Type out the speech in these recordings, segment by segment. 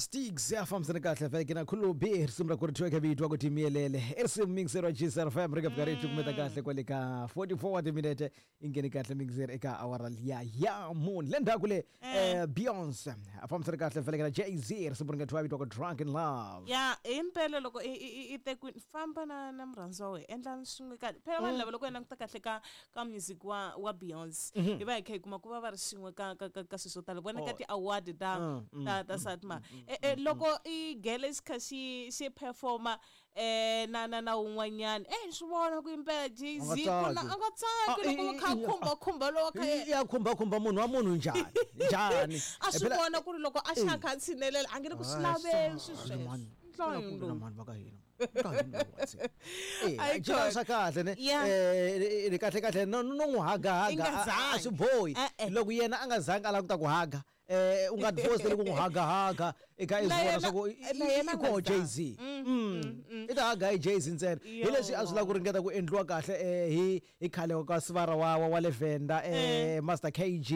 Stiggs ya fambisana kahle vhele na khulubi risimu ra ku ri thweke vitwa ku timiyelele i risimu mixer wa GSR FM ri ka fika ri cukumeta kahle kwale ka 44 wa timinete i nghene kahle mixer eka awara liya ya mune le ndzhaku le Beyonce a fambisana kahle vhele na Jay-Z risimu ri nga thwiwa vitwa ku Drunk in Love. Ya himpela loko i tekwini famba na murhandziwa wa wena endlani swin'we kahle phela vanhu lava loko hi languta kahle ka music wa Beyonce hi va hi kha hi kuma ku va va ri swin'we ka swilo swo tala vona ka ti-award ta SATMA. Loko i gele xi kha xi performa na un'wanyana swi vona ku impela Jay-Z A nga ku na tsaki. a nga tsaki Ah, loko kha khumba khumba lowa kha yena. Ya khumba khumba munhu wa munhu njhani njhani? A swi Phela vona ku ri loko a xa kha a tshinelela a nge le ku swi laveli swilo sweswo. mani Ntlhontlho na lowu. mani va ka hina Ka hina wa tsena. Eh, Ayi a jika khona. swa kahle ne. Yeah. Eh, kahle kahle no n'wi haga I nga haga a zangi. swi bohi. E-e. Loko yena a nga zangi a lava ku ta ku haga, u nga ti-force ku n'wi haga haga i kha i Na swi vona yena swa ku na yena i a nga koho zangi. Jay-Z. I ta haga hi Jay-Z ntsena. Hi leswi a swi lava ku ringeta ku endliwa kahle hi khale ka sivara wa le Venda Master KG.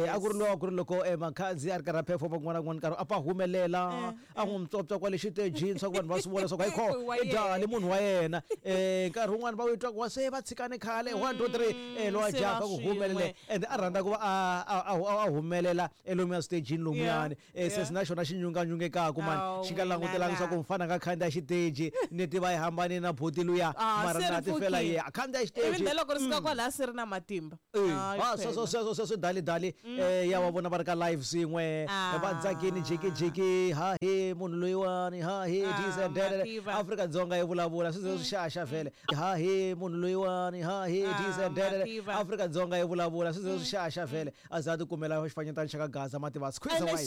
A ku ri Yes. lowa ku ri loko Makhadzi a ri karhi a perform kun'wana na kun'wana nkarhi a pfa humelela a n'wi ntswontswa kwale xitejini swa ku vanhu va swi vona swa ku hayi kho Wa i yena. dali munhu wa yena. Nkarhi wun'wani va wu twa ku wa se va tshikane khale 1 2 3 lowa Se jaha va ku swin'we. humelele and a rhandza ku va a humelela elomuya switejini lomuyani. Se na xona xi nyunganyungekaku mani Awu, xi nga langutelanga wena swa ku la. mfana a nga khandziya xiteji ni tiva yi hambanile na buti luya Ah, mara se na ri ti fela pfukile. ye a khandziya Ivi xiteji. na loko ri suka kwalaya se ri na matimba. Hayi Ah, sweswo phela. sweswo sweswo dali dali ya wa vona va ri ka live swin'we Ah. va tsakini jikijiki ha he munhu loyiwani ha he Ah, this and that. mativa. Afrika-Dzonga yi vulavula swi ze swi xaxa vhele ha he munhu loyiwani ha he this Ah, and that. mativa. Afrika-Dzonga yi vulavula swi ze swi xaxa vhele a za a ti kumela xifanyetana xa ka Gaza mativa squeeze Ene wine.